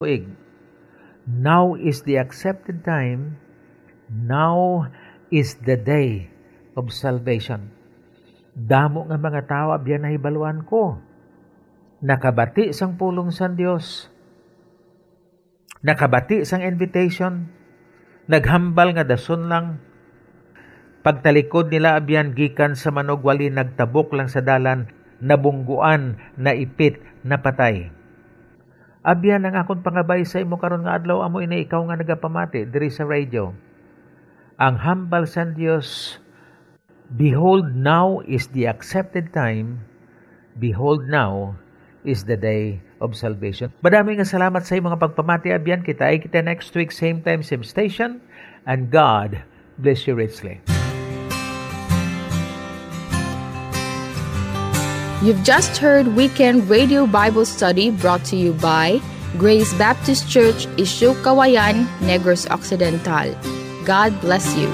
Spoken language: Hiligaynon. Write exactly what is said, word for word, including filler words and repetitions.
tuig. Now is the accepted time. Now is the day of salvation. Damo nga mga tawo abyan nahibaluan ko. Nakabati sang pulong sang Dios. Nakabati sang invitation. Naghambal nga dason lang. Pagtalikod nila abyan gikan sa manugwali, nagtabok lang sa dalan, nabungguan, naipit, napatay. Abyan ang akon pangabay sa imo karon nga adlaw, amo ini ikaw nga nagapamati diri sa radio. Ang hambal sang Dios, "Behold, now is the accepted time. Behold, now is the day of salvation." Madami nga salamat sa imo nga pagpamati, abyan. Kita ay kita next week, same time, same station. And God bless you richly. You've just heard Weekend Radio Bible Study, brought to you by Grace Baptist Church, Isyu Kawayan, Negros Occidental. God bless you.